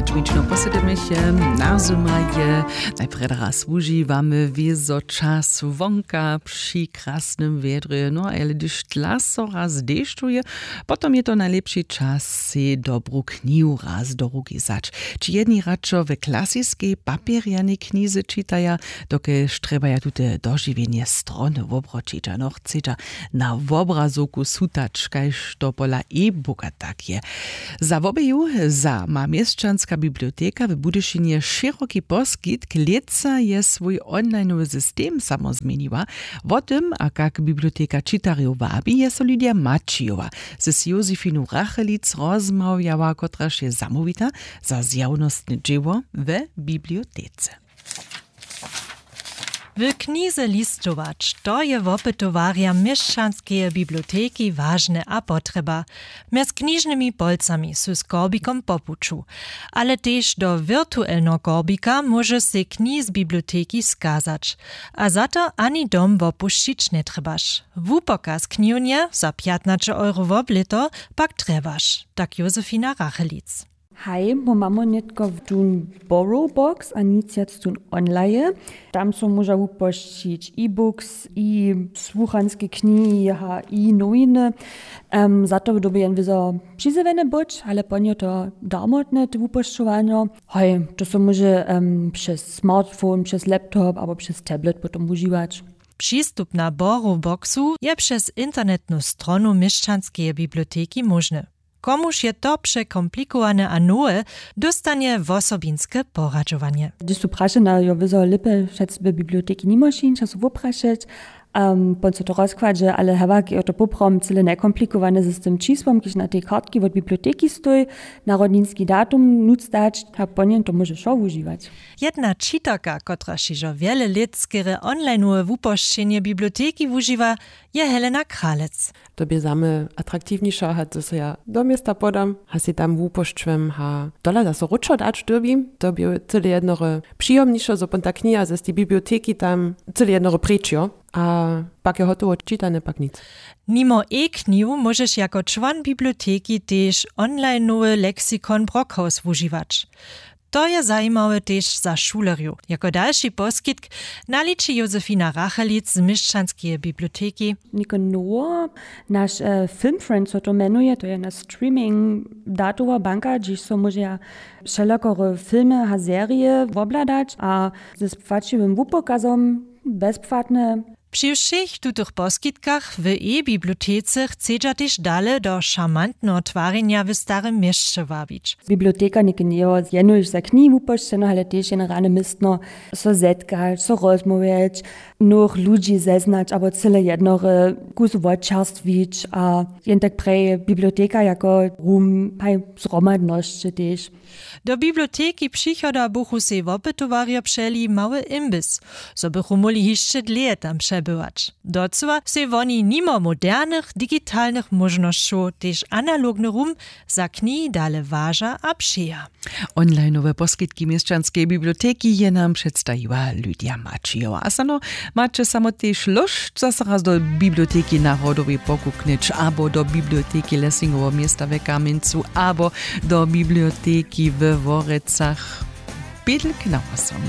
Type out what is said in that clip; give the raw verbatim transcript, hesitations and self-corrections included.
Šmično posedymyše, na zymaj je najprjedy raz wužiwamy wězo čas wonka při krasnym wjedrje, no ale hdyž tla so raz dešćuje, potom je to najlěpši čas sej dobru knihu raz do ruki wzać. Ći jedni radšo w klasiskej papjerjanej knize čitaja, dokelž trjebaja tute dožiwjenje strony wobroćić a nochceća na wobrazowku sutać kaž to pola e-booka tak je. Za wobeju za ma měšćanska biblioteka w budyšinje šěroki poskitk. Lětsa je swój onlineowy system samo změniła. Wo tym a kak biblioteka čitarjow wabi je so lydia maćijowa z josefinu rachelic rozmawjała kotraž je zamołwita za zjawnostne dźěło we bibliotece. W knize listować to je wopytowarjam měšćanskeje biblioteki wažne a potrjeba. Mjez knižnymi polcami su z korbikom po puću, ale tež do wirtuelneho korbika móžeš sej knihi z biblioteki skazać. A za to ani dom wopušćić njetrjebaš. Wupokaz knihownje za pjatnaće euro woblěto pak trjebaš, tak josefina rachelic. Haj, mój mamo nětko w tón borrow box a nic wjac tón onlaje. Tam so móža wupošćić e-books i słuchanske knihi a i nowiny. Za to dyrbi jen wězo přizjewjene być, ale po njo to darmotne te wupošćowanjo. Haj, to so móže přez smartphone, přez laptop abo přez tablet potom wužiwać. Přistupna borrow boxu je přez internetnu stronu měšćanskeje biblioteki móžny. Komuž je to překomplikowane a nowe, dóstanje wosobinske poradźowanje. Hdyž su prašena jo wězo lěpje přec w biblioteki nimo šińća su woprašeć. Pon so to rozkładźe ale hewak jo to poprawom cyle njekomplikowane z tym čisłom kiž na tej kartki wot biblioteki stoj, narodninski datum nutř dać a pon jen to móže wšo wužiwać. Jedna čitarka kotraž hižo wjele lět skerje onlineowe wupošćenje biblioteki wužiwa, je helena kralec. To bě za mnje atraktiwnišo hač zo so ja do města podam hač sej tam wupošćujem hač tola zaso wróćo dać dyrbim. To bě cyle jednore přijomnišo zo pon ta kniha z tej biblioteki tam cyle jednore preč jo. A pak je hotowo čitane pak nic. Nimo e-knihu móžeš jako čłon biblioteki tež onlineowy lexikon brockhaus wužiwać. To je zajimawe tež za šulerjow jako dalši poskitk, naliči josefina rachelic z měšćanskeje biblioteki. Něko nowo, naš filmfriend so to mjenuje to je na streaming datowa banka hdźež so móžeja wšelakore filmy a serije wobhladać a ze spłaćiwym wupokazom bezpłatne. Při wšěch tutych poskitkach w e-bibliotece chcedźa tež dale do šarmantneho twarjenja w starym měsće wabić. Biblioteka něke njejo jenož za knihi wupošćeno ale tež jeno rane městno so zetkać so rozmołwjeć, nowych ludźi zeznać abo cyle jednore kus wočerstwić a jen tak prje biblioteka jako rum haj zhromadnosće tež. Do biblioteki přichoda buchu sej wopytowarjo přeli mały imbis, zo bychu móhli hišće dlěje tam přebywać. Docyła sej woni nimo modernych digitalnych móžnosćow tež analogny rum za knihi dale waža a přeja. Onlineowe poskitki měšćanskeje biblioteki je nam předstajiła lydia maćijowa a sano maće samo tež lóšt zo so raz do biblioteki narodowej pokuknyć abo do biblioteki lessingoweho města w kamjencu abo do biblioteki we worecach. Pědlk na wosom.